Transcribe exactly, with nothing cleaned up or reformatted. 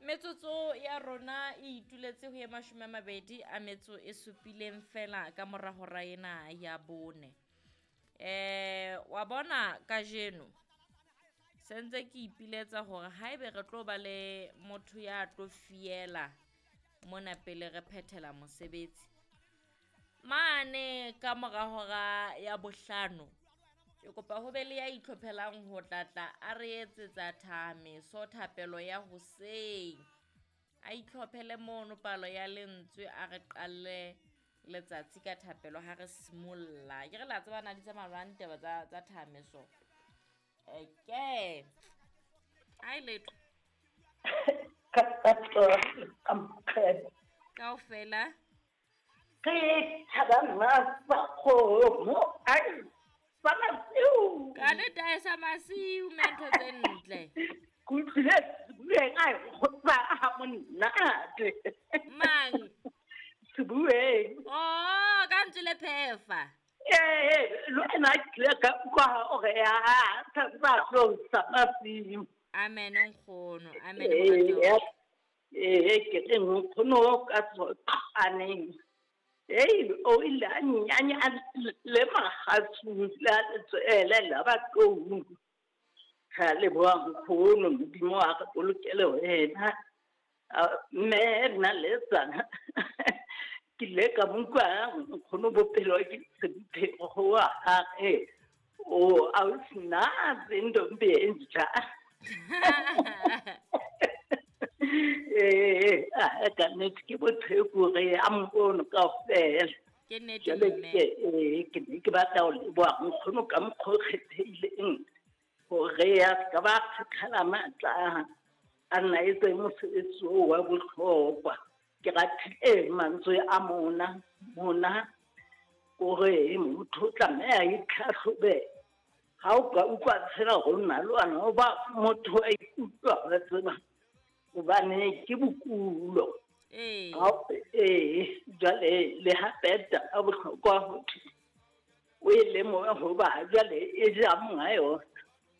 Metsotso ya rona e ituletse ho ye mashome a mabedi a metso e supileng fela ka mora hora ena ya bone. Eh wa bona kajeno sentse ke ipiletsa hore haebe re tlo ba le motho ya tlo fiela mona pele re phethela mosebetsi. Mane ka mora hora ya bohlano ke kopa ho be le ya itlhophelang ho tlatla a re etsetsa thameso thapelo ya hoseng. A itlhophele mono palo ya lentswe a re qalle letsatsi ka thapelo ha re simolla. Ke re la tseba na di tsamaya jwang ditaba tsa tsa thameso. Eke. Ai letho. Ka ka mokgele. Kaofela. Ke thabang kgomo ai sa masiu. Ka nnete ha e sa masiu mme ntho tse ntle. Ke utlwile Sebueng a e kgotsa ha monate. Mang? Sebueng. Oh, ka ntswe le phefa. Ee, le wena ke ile ka utlwa hore ya tsa tlo sa masiu. Amen nkgono, amen moratuwa. Ee, ke re nkgono ka tsoqaneng. Ei, o ile a nyanya le makgatsu la letswele la batlou. Re a leboha nkgono, Modimo a re bolokele wena. Mme nna le tsana ke ile ka mo utlwa nkgono bophelo ke sebophego wa hae. O awusinazi intombi entsha. Ee, ka nnete ke botlhoko re a mono kaofela. Ke nnete Jwale mme. ke ee, ke ne ke batla ho leboha nkgono ka mokgwa o kgethehileng hore a ska ba kgathala matla a nna etse mosebetsi oo wa bohlokwa. Ke ratile mantswe a mona mona hore motho o tlameha a itlhahlobe. Ha o ka utlwa tshela ho nna le wena o ba motho a ikutlwa wa tseba hobane ke bokulo. Ee. Ee, jwale le hape taba ya bohlokwa ho thwe o e lemohe hoba jwale e ja monga yona.